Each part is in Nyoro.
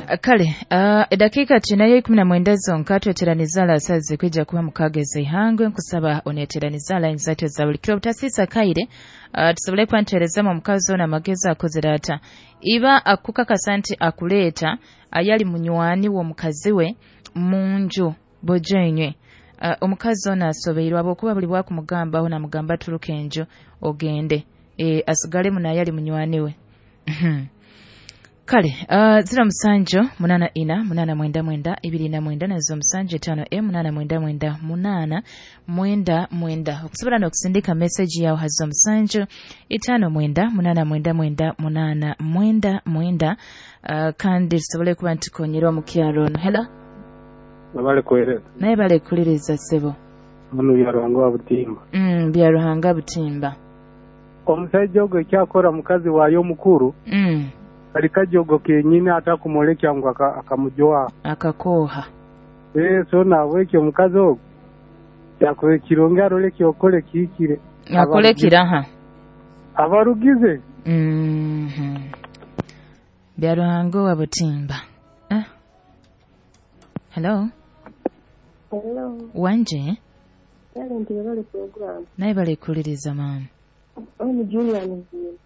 Kale edakika tunayo 19 zonka tweteraniza lasazi kwija kuba mukageze ihangwe nkusaba oneteraniza line zaitu za buli kiro butasisa kaire tusobole kwanterezamo omukazi ono amagezi akozere ata iba akukakasa nti akuleeta ayali munywani w'omukazi we munju bojenywe. Omukazi ono asobeirwe habwokuba buli bwakumugambaho namugamba turuka enju ogende asigalemu nayali munywani we. Kale 07 8 4 8 9 29 na 07 5 8 9 9 9. Okusobola n'okusindika message yawe ha 07 5 9 8 9 8 9 kandi tusobole kuba ntukonyera omukyaro ono. Hello. Nabale kuhereza. Naye bale kuliriza sebo. Hano Byaruhanga wa Butimba. Byaruhanga Butimba. Omusajja ogwo ekyakora mukazi wayo omukuru. Alikajogo kenyini atakumolekya ngu akamujoa akakoha. So nabwekyo omukazi ogwo yakore kirungi arole kyokole kikire akole kiraha abarugize. Byaruhanga wa Butimba. Hello. Hello. Wanje. Talent yabale program. Naye bale kuliriza mama. Ono Julian Zini.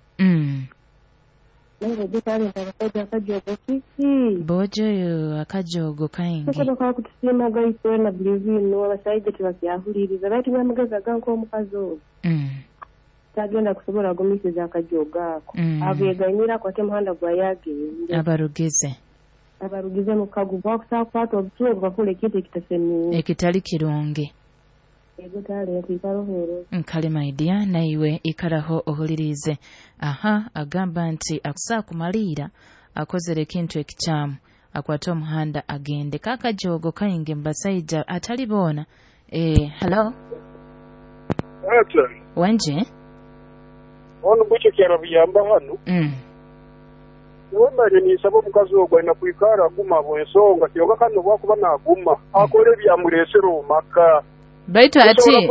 Bojo akajogo kaingi. Tukoda kutusima gaitwe na believe abasajja tibakyahuliriza baitu nyamugeza ganko omukazi ogwo. Tagenda kusobola gumisiza akajogo ako. Abeganyira kwate muhanda gwa yagende. Abarugize mukagu bakusakwata obutulo bakole ekintu ekitasemire. Ekitali kirungi. Nkale my dear naiwe ikaraho ohulirize. Aha agamba nti akusaa kumalira akozere ekintu ekikyamu akwate omuhanda agende kakajogo kaingi mbasaija atali bona. Hello. Ata. Wanje. Ono bucho kyarabiyamba hano. Wemale nisaba omukazi ogwo alina kwikara aguma bwensonga kyoka kano bwakuba naguma akole ebyamuleesera omaka. Baitu ati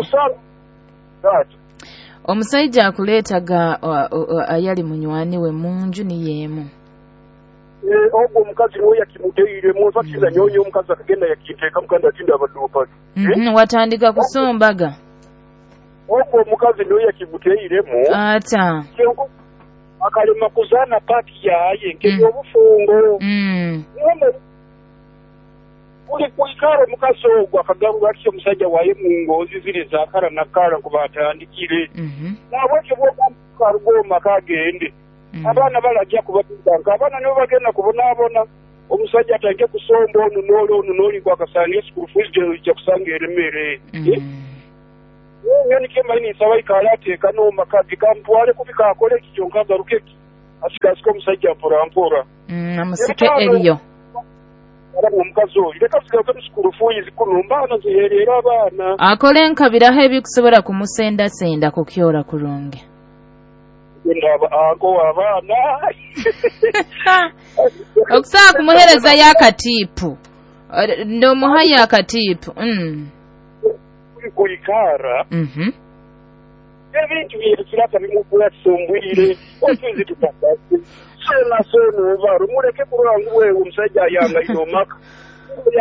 omusajja akuleetaga ayali munywani we munju niyemu. Ogwo omukazi niwe yakimuteire munfakiza nyonyo omukazi akagenda yakiteeka mukandi atinda abaduupa. Watandika kusombaga. Ogwo omukazi niwe yakimuteiremu. Ata. Akalema kuzaana paati yaye nk'ebyobufungo. Buli kwikara omukazi ogwo akagaruka atyo omusajja waye mu ngozi ziri zakara nakara ngu batandikire. Nabwekyo bw'okaruga omaka agende. Abaana balajja kubatanka abaana nibo bagenda kubonaabona. Omusajja atandike kusomba onu n'oli onu n'oli gwakasanga school fees ejja kusanga eremere. Nyoni kema ini nsaba ikala ateeka n'omaka ge kamutwale kubika akole ekyo kyonka agaruke asikasika omusajja mpora mpora. Amusike eriyo. Omukazi oyo leka sigaruke mu school fees kuno mbaana ziherera abaana. Akole enkabiraho ebikusobola kumusendasenda kukyora kurungi. Ndaba ako abaana. Okusobola kumuhereza yakatiipu. Ndomuha yakatiipu. Kuikara. Ebintu byekiraka bimukwasumbwire otuzi tutakase. Sona sona obaro muleke kulora ngu wewe omusajja ayangaire omaka.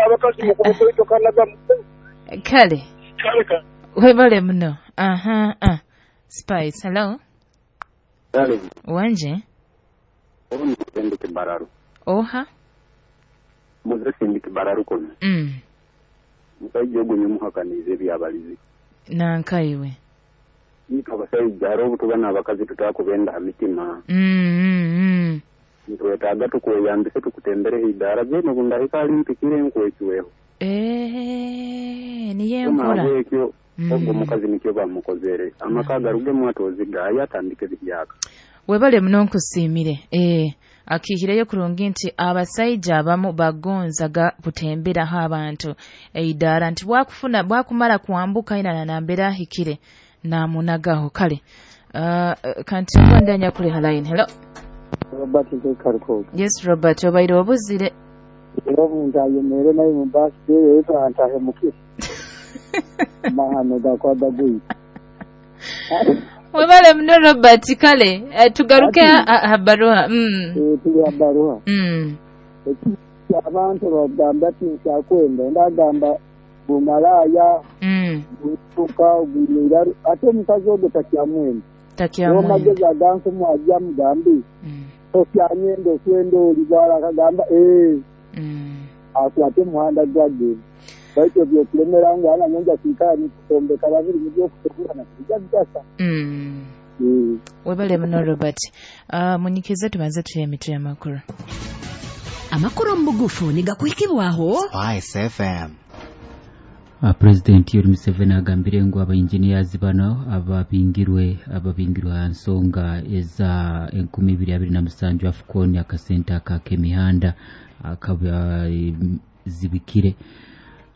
Abakazi mukubokoitokanaga. Kale. Webale muno. Aha. Spice, hello. Kale. Wanje. Oha. Muze kibararu kono. Musajja ogwo nyomuhakaniza ebyabalizi. Nankaiwe. Itwe abasajja hariho obutuba n'abakazi tutakubenda ha mitima. Nitwetaaga tukweyambise tukutembereho idaara byene obundahika ali mpikire nkwecweho. Niyo enkola. Ekyo ogwo omukazi nikyo bamukozere. Amaka agarugemu atozigaaya atandike ebihyaka. Webale muno nkusiimire. Akihireyo kurungi nti abasajja abamu bagonzaga kutemberaho abantu eidaara nti bwakufuna bwakumala kwambuka ina nambera ahikire namunagaho. Kale kanti ndanya kuli line. Hello. Robert Nkaruko. Yes Robert obaire obuzire. Omuntu ayemere naye mu birthday yetu antahemuke. Mahano gakwada gui. Webale mno Robert. Kale tugaruke habaruha. Tuli habaruha. Abantu bagamba ati nkyakwenda, ondi agamba bumalaaya, butuka ogwire ate omukazi ogwo takyamwenda. Takyamwenda. Amagezi aganku mwajja mugambi. Okyanyenda okwenda oli bwala akagamba akwate omuhanda gwagenda. Baitu ebyokulemera ngu ana nyonja kwikara nikutombeka babiri mubyokusobora nakujja kugasa. Webale muno Robert. Munyikize tubanze tuye emitwe y'amakuru. Amakuru mu bugufu nigakuhikibwaho Spice FM. President Yoweri Museveni agambire ngu aba engineers bano ababingirwe aha nsonga eza 2027 AFCON akasente ak'emihanda akabazibikire.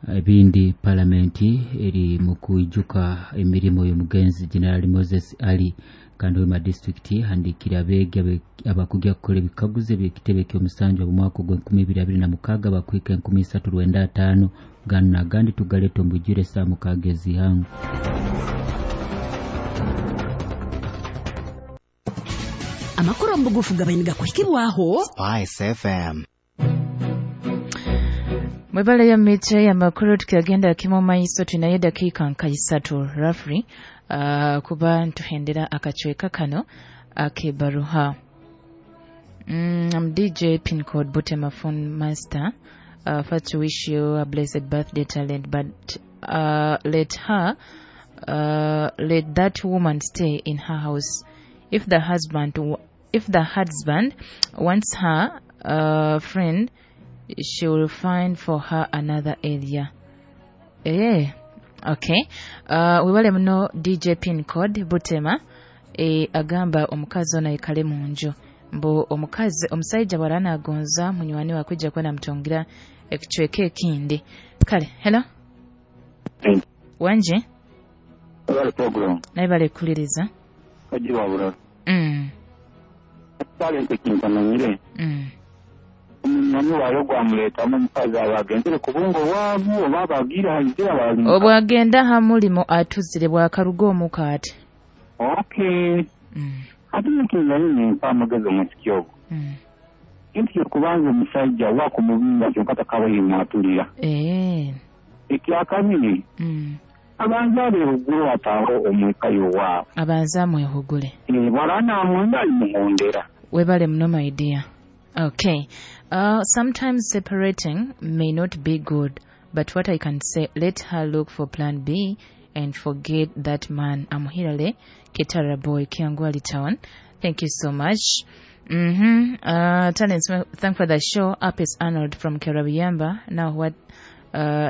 Ebindi palamenti eri mu kuijuka emirimo y'omugenzi General Moses Ali kandi Hoima district handikira abeegi abakujja kukola ebikaguzo eby'ekitebe ky'omusanju mu mwaka ogwa 2026 bakwika 1395 gano n'agandi tugaleta omubujjire saa 6 ez'ihangu. Amakuru mu bugufu gabaine gakuhikibwaho Spice FM. Mwebale ya mitwe ya makuru tukagenda kimo maiso tunaye dakika nka 3 roughly kuba ntuhendera akachweka kano akebaruha. I'm DJ Pincode Butema Phone Master. First to wish you a blessed birthday talent, but let that woman stay in her house. If the husband wants her friend, she will find for her another area. Okay. Webale muno DJ Pincode Butema agamba omukazi ono ayikale mu nju. Mbu omukazi omusajja bw'alana agonza munywani we akujja kuba namutongira ekicweka ekindi. Kale, hello. Wanje? Webale program. Naye bale kuliriza. Kajiwa bulala. Talente kintamanyire. Omunyani waayo gwamuleetamu omukazi aba agenzere ku bungo bwabu oba abagira nzira bali. Obwagenda ha mulimo atuzire bwakaruga omuka ati. Okay. Ate nkinzanye mpa amagezi omusiki ogwo. Kintu ky'okubanza omusajja wakumubinga kyokka takabaire mwatulira. Ekyakabiri. Abanza abeehugule ataaho omweka yowaabo. Abanza amwehugule. Bw'alaba amwenda alimuhondera. Webale muno my dear. Okay. Sometimes separating may not be good, but what I can say, let her look for plan B and forget that man. I'm Hirale Ketara Boy, Kiangwali Town. Thank you so much. Talents, thank for the show. Up is Arnold from Kerabiyamba. Now what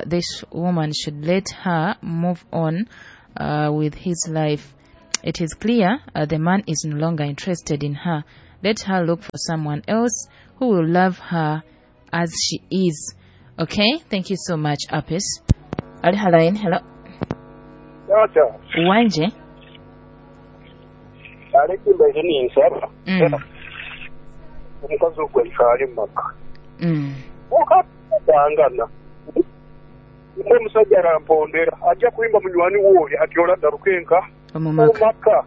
this woman should let her move on with his life. It is clear the man is no longer interested in her. Let her look for someone else who will love her as she is. Okay, thank you so much, Apis. Ali halain, hello. Tata. Wanje. Alekimba ni nsaba. Omukazi ogwo ayikale mu maka. Okatangana. Omusajja arampondera ajja kuyimba munywani wooyo ati olagaruka enka omu maka.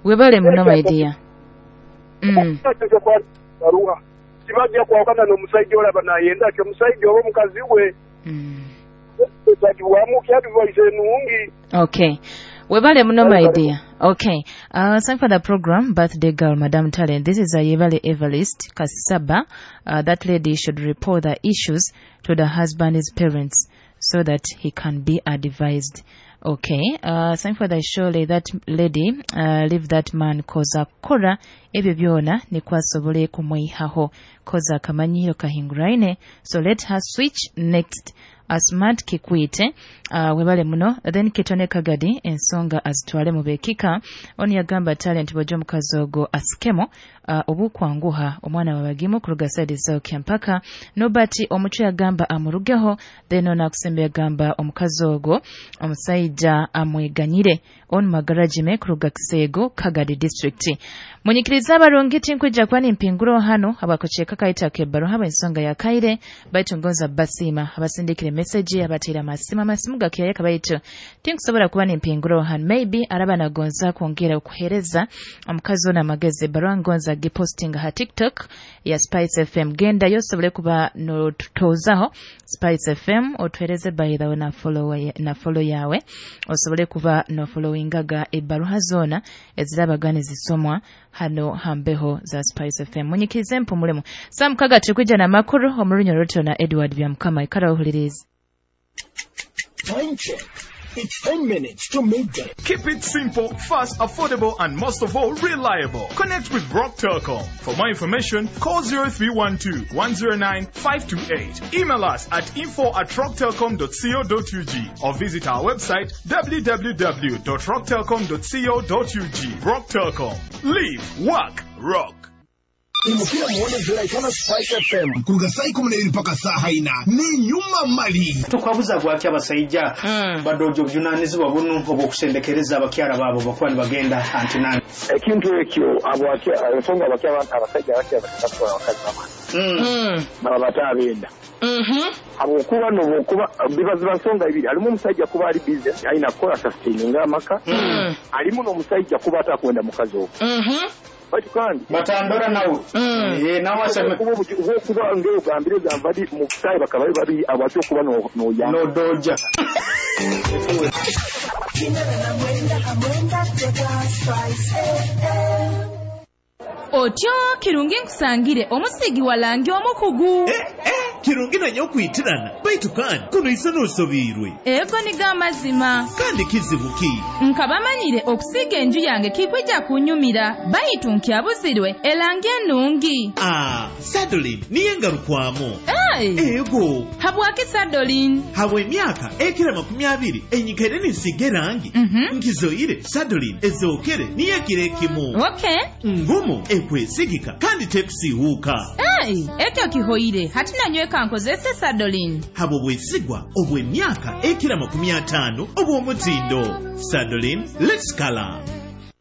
Webale muno my dear. Kibajja kwawukana n'omusajja olaba nayenda ati omusajja oba omukazi we. Okay. Webale muno my dear. Okay. Thank for the program, Birthday Girl, Madam Talent. This is Ayebale Evarist Kasaba. That lady should report the issues to the husband's parents so that he can be advised. Okay. Thank for the show. That lady, leave that man koza kora ebyo byona nikwasobole kumwihaho koza akamanyiro kahinguraine. So let her switch next. Asmart Kikwite, webale muno. Then Kitone Kagadi ensonga azitwale mu bekika. Oni yagamba Talent bw'ojja omukazi ogwo asikemo obukwanguha omwana wabagimu kuruga side zao Kyampaka. Nobati omucu yagamba amurugeho. Then ono akusembe yagamba omukazi ogwo omusajja Omusaija amweganyire. Onu Magarajime kuruga Kisego, Kagadi District. Munyikiriza abarungi tinkwija kuba nimpinguro hano abakocheka kaita kebaro haba ensonga ya kaire baitu ngonza basima abasindikire message abatira masima masimu gakiyayaka baitu tinkusobola kuba nimpinguro hano. Maybe araba nagonza kwongera okuhereza omukazi ona amagezi barua ngonza gipostinga ha TikTok ya Spice FM. Genda yosobole kuba no tutozaho Spice FM otuhereze by the way na follow yawe osobole kuba no followingaga ebaruha zona ezirabagane zisomwa hano hambeho za Spice FM. Munyikirize mpumulemu saa 6 tukwija na makuru omurunyo roto na Edward Byamukama. Ikara uhulirize. Time check. It's 10 minutes to midday. Keep it simple, fast, affordable, and most of all, reliable. Connect with Rock Telcom. For more information, call 0312 109 528. Email us at info@rocktelcom.co.ug or visit our website www.rocktelcom.co.ug. Rock Telcom. Live, work, rock. Imukira muone ziraikana Spice FM kuruga saa 12 mpaka saa 4 ni nyuma mali. Tukwabuza gwaki abasajja badojo bujunanizibwa bunu obwokusendekereza abakyala baabo bakuba nibagenda antinani. Ekintu ekyo ensonga abasajja abakyala abakazi baba baba benda. Habwokuba nobwokuba bibaziba nsonga ibiri, alimu omusajja kuba ali business alina kukola sustaininga amaka, alimu n'omusajja kuba atakwenda mukazi ogwo. Batu kandi batandora nawe nawe aseme kuba ngeo gambire gambadi mukutaye bakaba bari abatyo kuba no ya no doja. Otyo kirungi nkusangire omusigi walangi omukugu. Kirungi nanyo okwitirana baitu kandi kuno isano osobirwe. Ego niga amazima. Kandi kizibu ki? Nkabamanyire okusiga enju yange kikwija kunyumira baitu nkyabuzirwe elangi ennungi. Sadolin niye ngarukwamo. Hey. Ego. Habwaki Sadolin? Habwe emyaka ekira 20 enyikaire ninsiga erangi. Nkizoire Sadolin ezookere niyo ekiro ekimu. Okay. Ngumu ekwesigika kandi tekusiihuuka. Hey, ekyo kihoire hati nanyweka nkozese Sadolin. Habwo bwesigwa obw'emyaka ekira 50 obw'omutindo. Sadolin, let's color.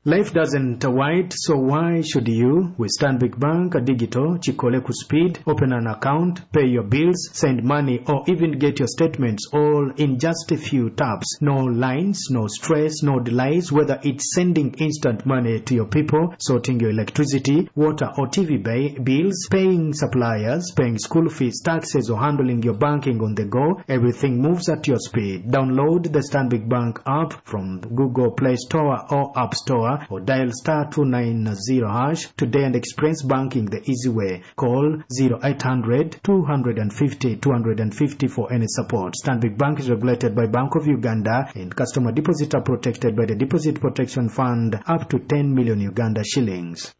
Life doesn't wait, so why should you? With Stanbic Bank Digital, Chikole Speed, open an account, pay your bills, send money, or even get your statements all in just a few taps. No lines, no stress, no delays, whether it's sending instant money to your people, sorting your electricity, water or TV bills, paying suppliers, paying school fees, taxes, or handling your banking on the go, everything moves at your speed. Download the Stanbic Bank app from Google Play Store or App Store, or dial *290# today and experience banking the easy way. Call 0800 250 250 for any support. Stanbic Bank is regulated by Bank of Uganda and customer deposits are protected by the Deposit Protection Fund up to 10 million Uganda shillings.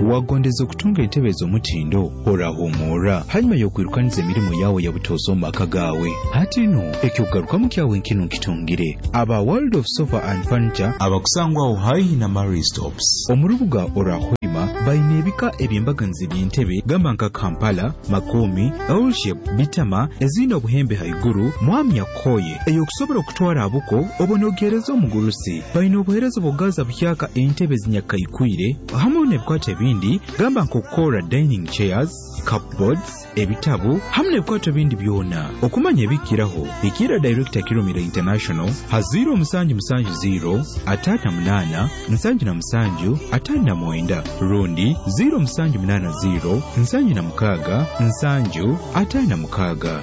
Wagondeza okutunga entebe ez'omutindo orahumura hanyuma y'okwirukaniza emirimu yawe ya butoosa omu maka gaawe. Hati no ekyokugarukamu kyawe nkino nkitungire aba World of Sofa and Furniture abakusangwaho haihi na Marie Stops omu rubuga Orahwima baine ebika eby'embaganizi by'entebe gamba nka Kampala, Makomi, L-shape, Bitama ezine obuhembe haiguru mwamya koye eyokusobola okutwara abuko obonogereza omugurusi. Baine obuhereza obugaza buhyaka entebe zinyakaikwire hamwe n'ebikwato ebindi gamba nk'okukora dining chairs, cupboards, ebitabu hamwe n'ebikwato bindi byona. Okumanya ebikiraho ikira Director Kirumira International ha 0770 58 77 59 rundi 0780 76 756.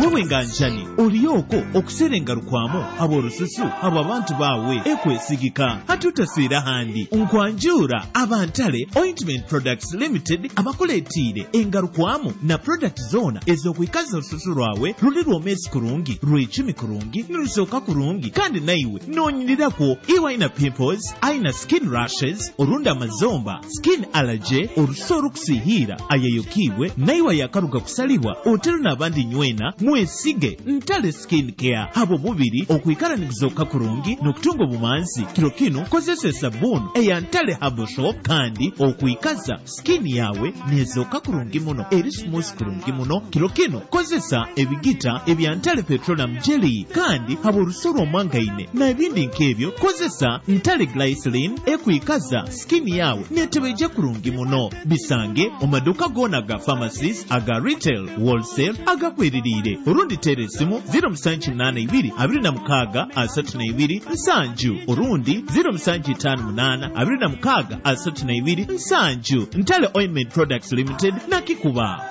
Wewe nganjani oliyoko okuserenga rukwamo ab'orususu abo abantu bawe ekwesigika hatutaswira handi nkwanjura abantale Ointment Products Limited abakuleetiire engarukwamo na product zona ez'okwikaza orususu rwawe ruli rwomesi kurungi rwecumi kurungi nirusooka kurungi kandi naiwe noonyirirakwo iwe aina pimples aina skin rashes orundi amazomba skin allergy orusu orukusihiira ayeyokibwe naiwe ayakaruga kusalibwa otero n'abandi nywena Mwesige Ntale Skin Care habw'omubiri okwikara niguzooka kurungi n'okutunga obumanzi. Kiro kinu kozesa esabbuuni eya Ntale Herbal Soap kandi okwikaza skin yawe nezooka kurungi muno, eri smooth kurungi muno. Kiro kinu kozesa ebigita ebya Ntale Petroleum Jelly kandi habw'orusu rw'omwangaine n'ebindi nk'ebyo kozesa Ntale Glycerin ekwikaza skin yawe netebeija kurungi muno. Bisange omu maduuka goona aga pharmacies, aga retail, wholesale, agakweririire. Orundi teera esimu 0782 26 32 7 orundi 0758 26 32 7. Ntale Ointment Products Limited nakikuba.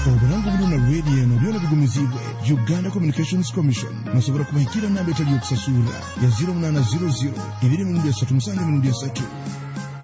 Oburango buno na radio eno byona bigumizibwe Uganda Communications Commission. Nosobora kubahikira namba etali yokusasura ya 0800 2 3 7 3.